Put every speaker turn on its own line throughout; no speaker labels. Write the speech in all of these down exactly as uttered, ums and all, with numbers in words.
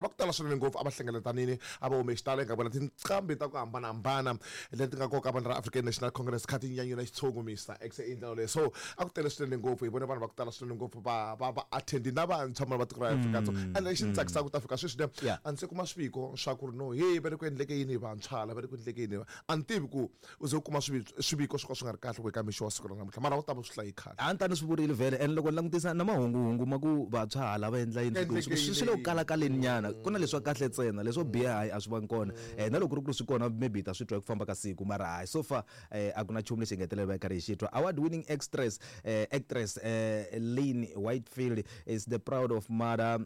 Va ku tala swinene ngopfu a va hlengeletanini, a va hume xitalo, hi nga vona tinqambi ta ku hambanahambana leti nga koka vanhu ra African National Congress kha ti nyanyula xitshungu Mister X i ndlela leyo. So a ku tele swinene ngopfu, hi vone vanhu va ku tala swinene ngopfu va va va attendi na vantshwa mara va tiko ra Afrika-Dzonga. Ende lexi ni tsakisaka ku ta fika sweswi ne
Yeah.
a ndzi se kuma swiviko swa ku ri no hey va le ku endleke yini hi vantshwa la va le ku endleke yini, a ni tivi ku u ze u kuma swivi- swiviko swo ka swi nga ri kahle ku eka mixo wa siku ra namuntlha, mara u ta va swi hlayi khale.
A ni ta ni swi vurile vhele, and loko ni langutisa na mahunguhungu ma ku vantshwa hala va endla yini,
Endleke
swi swi le ku
yini?
kalakaleni nyana, ku na leswa kahle ntsena, leswo biha hayi a swi vangi kona. um na loko ku ri ku ri swi kona, maybe hi ta swi twa hi ku famba ka siku, mara hayi so far um a ku na nchumu lexi hi nga hetelela va hi karhi hi xi twa. Award winning actress uh, actress uh, Lynn Whitefield is the proud of mother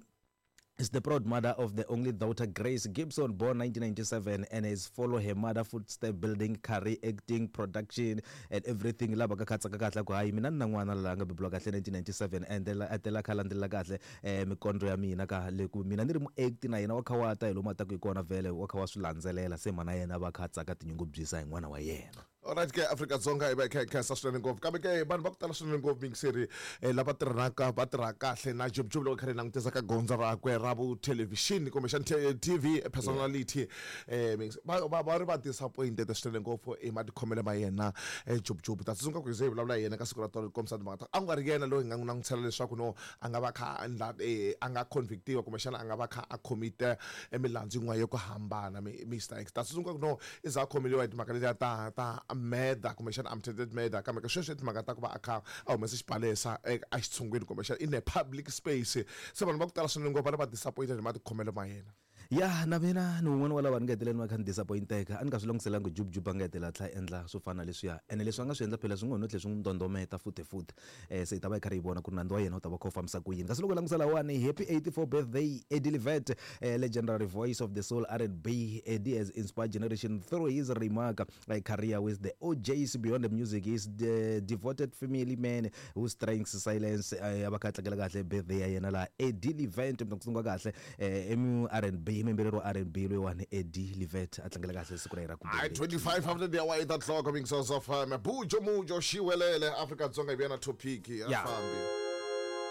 is the proud mother of the only daughter Grace Gibson, born nineteen ninety-seven, and has followed her mother footstep, building career, acting, production and everything. Lava ka khatsaka kahle ku hayi mina ni na n'wana la nga beburiwa kahle nineteen ninety-seven, and a tela kha landzelela kahle eh mikondro ya mina ka le ku mina ni ri muacti na yena wa kha wa ta hi lomu a taku hi kona vhele wa kha wa swi landzelela, se mana yena va kha a tsaka tinyungubyisa hi n'wana wa yena.
Alright ke, Afrika-Dzonga hi va hi kha hi khensa swinene ngopfu, kambe ke vanhu va ku tala swinene ngopfu mingiseri eh, lava tirhanaka va tirha kahle na Jub Jub loko kha ri langutisa ka gondzo rakwe ra vuthelevhixini kumbexani T V personality, eh mingisi- va va va ri va disappointed swinene ngopfu hi matikhomelo ma yena eh, Jub Jub. Ta tsundzuka ku hi ze hi vulavula hi yena ka siku ra tolo, kombisa timhaka ta a ku nga ri yena loyi hi nga n'wi langutisela leswaku no a nga va kha a endla eh, a nga convictiwa kumbexana a nga va kha a commit emilandzu yin'wana yo ku hambana mi- Mister X. Ta tsundzuka ku no i za a khomeliwa hi timhaka letiya ta ta murder kumbexana attempted murder, kambe ka sweswi timhaka ta ku va a kha a humese xibalesa a xitshungwini kumbexana in a public space, se vanhu va ku tala swinene ngopfu va ri va disappointed hi matikhomelo ma yena.
Ya, na mina ni wun'wana wa lava ni nga heteleli va kha ni disappointeka. A ni nga swi languselanga Jub Jub a nga hetelela a tlhela a endla swo fana na leswiya, ene leswi a nga swi endla phela swi ngo no tlhela swi n'wi ndondometa futhi futhi. um se hi ta va hi karhi hi vona ku ri nandzu wa yena wu ta va kha wu fambisa ku yini. Kasi loko hi langutisa lawani, happy eighty-four birthday Eddie Levet, uh, legendary voice of the soul R and B. Eddie has inspired generation through his remark uh, career with the O Js. Beyond the music, he is the devoted family man who strengths silence. uh, va kha a tlangela kahle birthday ya yena laha Eddie Levet, mi ta ku tsundzuka kahle eh, emu R and B, muyimbeleri wa R and B loyiwani Eddie Levet a tlangela kahle siku ra yena ra ku
Hayi,
velekiwa.
twenty-five after the hour, eight o'clock, mingisi of um, Bujo Mujo Shiwelele, Afrika-Dzonga hi vuya na topic a
Yeah.
fambi.